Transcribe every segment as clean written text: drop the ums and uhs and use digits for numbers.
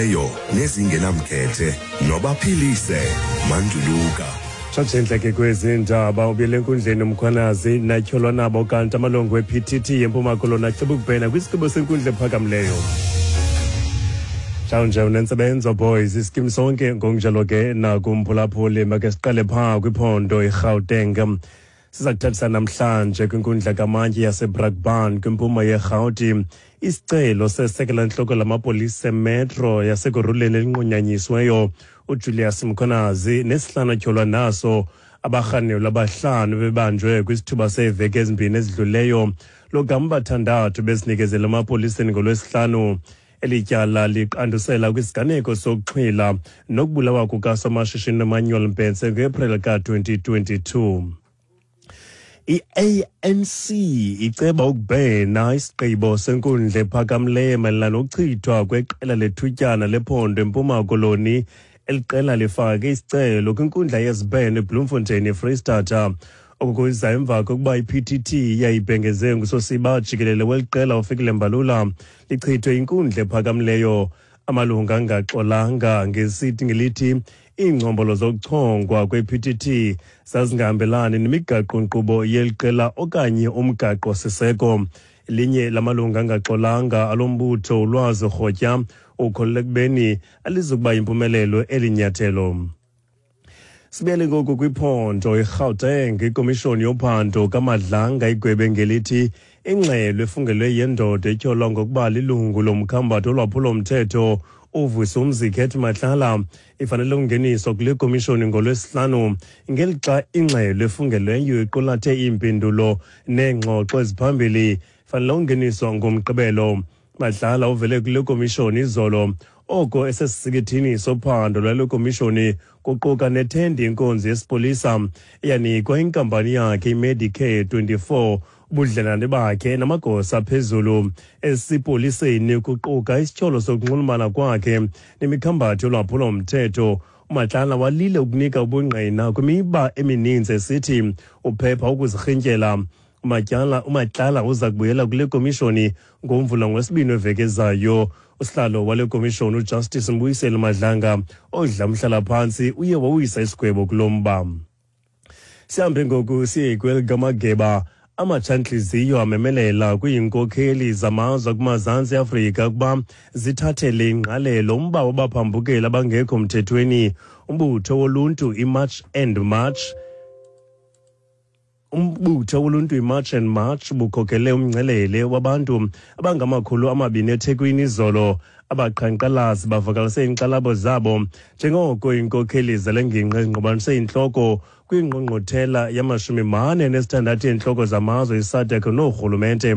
Eyo nezingenamkhethe nobaphilise manduluka. Tshatshentle ke kwezi ndaba ubuyele enkundleni uMkhwanazi natyholwa nabo kanti amalungu e-PTT yeMpuma Koloni aceba ukubhena kwisigqibo senkundla ephakamileyo. Mhlawumbe unentsebenzo boys iskim sonke ngokunjalo ke nakumphulaphuli make siqale phaa kwiphondo iGauteng. Siza kuthathisa namhlanje kwinkundla kamantyi yaseBrakpan kwimpuma yeRhawuti isicelo sesekela ntloko lamapolisa emetro yasekuruleni elinqunyanyisiweyo uJulius Mkhwanazi nesihlanu atyholwa naso. Abarhanelwa abahlanu bebanjwe kwisithuba seeveki ezimbini ezidluleyo, logama bathandathu bezinikezele emapoliseni ngoLwesihlanu. Eli tyala liqandusela kwisiganeko sokuxhwila nokubulawa kukasomashishini Emmanuel Mbhense ngoApril ka-2022. I-ANC iceba ukubhena isigqibo senkundla ephakamileyo mayelana nokuchithwa kweqela lethutyana lephondo eMpuma Koloni. Eli qela lifake isicelo kwinkundla yezibheno eBloemfontein eFreyistata. Oku kuza emva kokuba i-PTT yayibhengeze ngusosiba jikelele weli qela uFikile Mbalula lichithwe inkundla ephakamileyo. Amalungu angaxolanga ngesithi ngelithi iingcombolo zokuchongwa kwe-PTT zazingahambelani nemigaqo-nkqubo yeli qela okanye umgaqo-siseko. Elinye lamalungu angaxolanga alo mbutho, uLwazi Rhotya, ukholelwa ekubeni alizukuba yimpumelelo eli nyathelo. Sibuyele ngoku kwiphondo iGauteng. Ikomishoni yophando kaMadlanga igwebe ngelithi ingxelo efungelwe yendoda etyholwa ngokuba lilungu lomkhambathi olwaphulomthetho uVusumzi Cat Matlala ifanele ukungeniswa kule komishoni ngoLwesihlanu, ngelixa ingxelo efungelweyo iqulathe iimpendulo neengxoxo eziphambili ifanele ukungeniswa ngoMgqibelo. Matlala uvele kule komishoni izolo oko esesisikithini sophando lwale komishoni, kuquka nethendi inkonzo yesipolisa eyanikwa inkampani yakhe iMedicare 24, ubudlelane bakhe namagosa aphezulu esipoliseni, kuquka isityholo sokunxulumana kwakhe nemikhambathi yolwaphulomthetho. UMatlala walile ukunika ubungqina kwimiba emininzi, esithi uphepha ukuzirhintyela. UMatlala uza kubuyela kule komishoni ngoMvulo ngolwesibini weveki ezayo. Usihlalo wale komishoni uJustice Mbuyiseli Madlanga odla umhlalaphantsi uye wawisa isigwebo kulo mba. Sihambe ngoku siye kwelikamageba. Amatshantliziyo amemelela kwiinkokheli zamazwe kumazantsi Afrika ukuba zithathele ingqalelo umba wabaphambukeli abangekho mthethweni. Umbutho woluntu iMarch and March Umbutho woluntu iMarch and March bukhokele umngcelele wabantu abangama-200 eThekwini izolo. Abaqhankqalazi bavakalise iinkxalabo zabo njengoko iinkokheli zale ngingqi zingqubanise intloko kwingqungquthela yama-46 yeentloko zamazwe iSADC noorhulumente.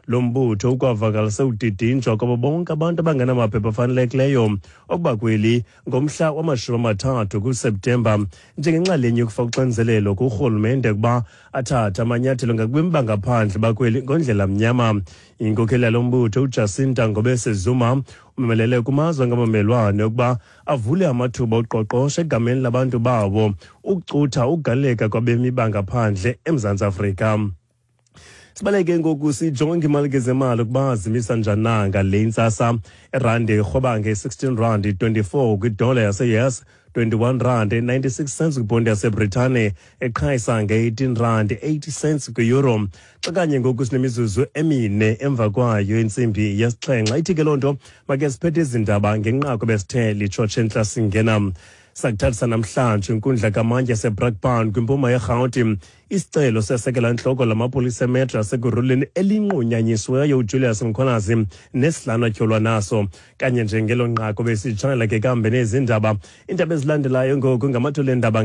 Lo mbutho ukwavakalise udidinjwa kwabo bonke abantu abangenamaphepha afanelekileyo okuba kweli ngomhla wama-30 kuSeptemba njengenxalenye yokufaka uxinzelelo kurhulumente ukuba athathe amanyathelo ngakubemi bangaphandle bakweli ngondlela mnyama. Inkokheli yalo mbutho uJacinta Ngobese Zuma umemelele kumazwe angabamelwane ukuba avule amathuba oqoqosho egameni labantu bawo ukucutha ukugaleleka kwabemi bangaphandle eMzantsi Afrika. Sibaleke ngoku sijonge imali kezemali ukuba zimisa njani na ngale ntsasa. Irandi irhweba nge-16 rand 24 kwidola yase-US, 21 rand 96 cents kwibhondi yaseBritane, eqhayisa nge-18 rand 80 cents kwi-euro. Xa kanye ngoku sinemizuzu emine emva kwayo intsimbi yesixhenxe, ithi ke loo nto make siphethe izindaba ngenqaku besithe litshotshe entla singena. Sakuthathisa namhlanje inkundla kamantyi yaseBrakpan kwimpuma yeRhawuti isicelo sesekela ntloko lamapolisa emetro yasekuruleni elinqunyanyisiweyo uJulius Mkhwanazi nesihlanu atyholwa naso. Kanye njengelo nqaku besitshayela ke kambe nezi ndaba. Iindaba ezilandelayo ngoku ngamathole endaba.